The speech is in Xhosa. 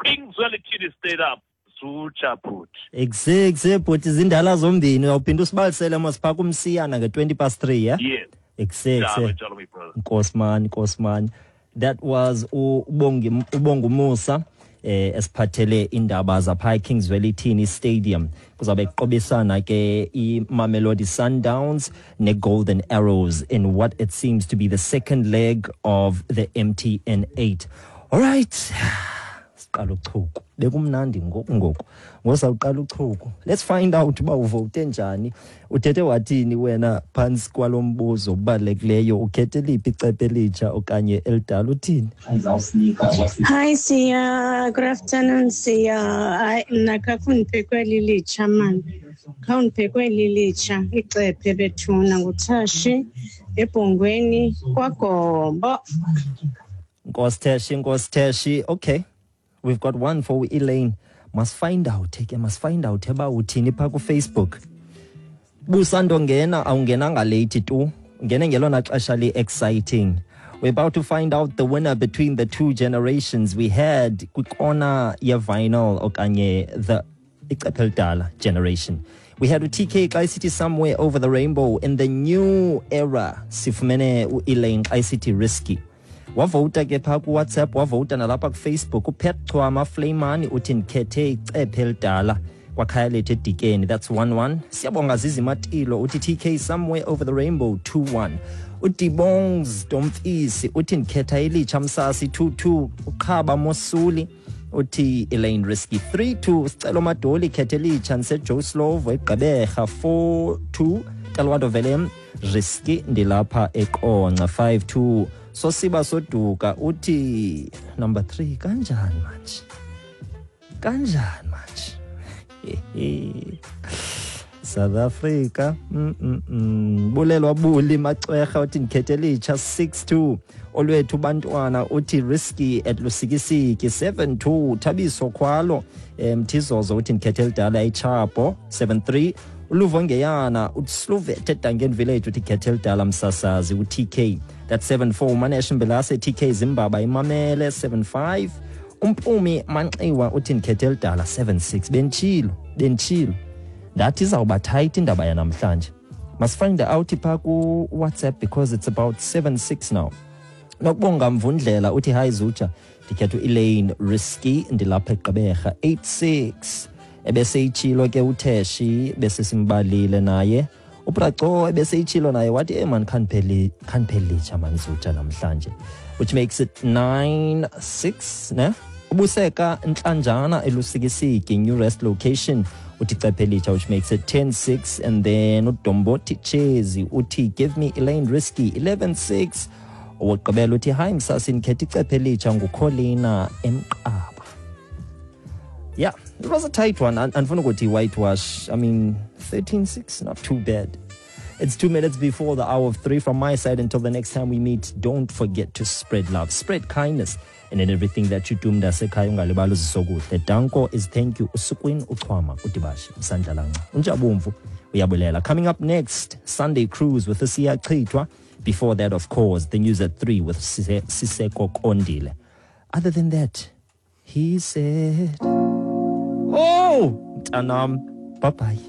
King Zwelithini Stadium. Zutsha bhuti. Exe exe bhuti, zindala zombini. Uyawuphinda usibalisele mos phaa kumsiyana nge-3:20, yeah? Yes. Exe Njalo exe. njalo, my brother. Nkosman, Nkosman. That was uBongi uBongumusa esiphathele indaba zapha eKing Zwelithini Stadium. Kuzabe kuqobisana ke iMamelodi Sundowns neGolden Arrows in what it seems to be the second leg of the MTN 8. All right. Siqala uchuku. Bekumnandi ngoku ngoku. Ngosawuqala uchuku. Let's find out uba uvote njani. Uthethe wathini wena phantsi kwalo mbuzo ubalulekileyo, ukhethe liphi icephe, elitsha okanye elidala, uthini? Hi Siya, good afternoon Siya. Hayi, mna khakundiphe kweli litsha mani. Khawundiphe kweli litsha icephe bethuna, nguThashi eBhongweni kwaGombo. Nkosi Teshi, Nkosi Teshi. Okay. We've got one for Elaine. Must find out ke, must find out eba uthini pha ku Facebook. Busandongena, awungenanga late tu. Ungene ngelona xesha li exciting. We're about to find out the winner between the two generations. We had kwikona ye vinyl okanye the icephe elidala generation. We had uTK xa isithi "Somewhere Over the Rainbow". In the new era sifumene uElaine xa isithi "Risky". Wavota ke phaa kuWhatsApp, wavota nalapha kuFacebook. UPet Chwama Flamani uthi ndikhethe icephe elidala kwakhaya lethu eDikeni, that's 1-1. Siyabonga Zizimatilo uthi TK, "Somewhere Over the Rainbow", 2-1. UDibongs Domfisi uthi ndikhetha elitsha msasi, 2-2. Uqhaba Mosuli uthi Elaine Risky, 3-2. Sicelo Madoli, khethe elitsha, ndiseJoe Slovo eGqeberha, 4-2. Talwando Velem, Risky, ndilapha eQonce, 5-2. Sosiba Soduka uthi number 3. Kanjani manje, kanjani manje, South Africa? Bulelwa Buli Macwerha uthi ndikhethe elitsha, 6-2. Olwethu Bantwana uthi Risky at Lusikisiki, 7-2. Thabiso Khwalo Mthizozo uthi ndikhethe elidala ichapo, 7-3. Uluvo Ngeyana uSluvet eDangen Village uthi khethe elidala msasazi uTK, that's 7-4. Manesh Mbelase, TK Zimbaba imamele, 7-5. Umpumi Manxiwa uthi ndikhethe elidala, 7-6. Bentshilo, bentshilo, ndathi izawuba tight indaba yanamhlanje. Must find out phaa ku-WhatsApp because it's about 7-6 now. Nokubonga Mvundlela uthi hayi Zutsha, ndikhetha u-Elaine Risky, ndilapha eGqeberha, 8-6. Ebeseyitshilo ke uTheshi, bese simbalile naye uBraco, ebeseyitshilo naye wathi man, khandipheli litsha man Zutsha namhlanje, which makes it 9-6 ne. Ubuseka Ntlanjana eLusikisiki New Rest location uthi cephe elitsha, which makes it 10-6. And then uDombothi Chezi uthi give me Elaine Risky, 11-6. Owokugqibela uthi hayi msasi, ndikhetha icephe elitsha, ngukholina eMqaba. Yeah, it was a tight one. Andifuna ukuthi whitewash. I mean, 13-6, not too bad. It's 2 minutes before the hour of 3 from my side. Until the next time we meet, don't forget to spread love, spread kindness, and in everything that you do, mntasekhaya, ungalibali uzisokuhle. Danko is thank you. Usukwin uchwama udibashi usandlalanca. Unjabumvu uyabulela. Coming up next, Sunday Cruise with Siya Chitwa. Before that, of course, the news at 3 with Siseko Kondile. Other than that, he said, "Oh, mntanam, bye bye."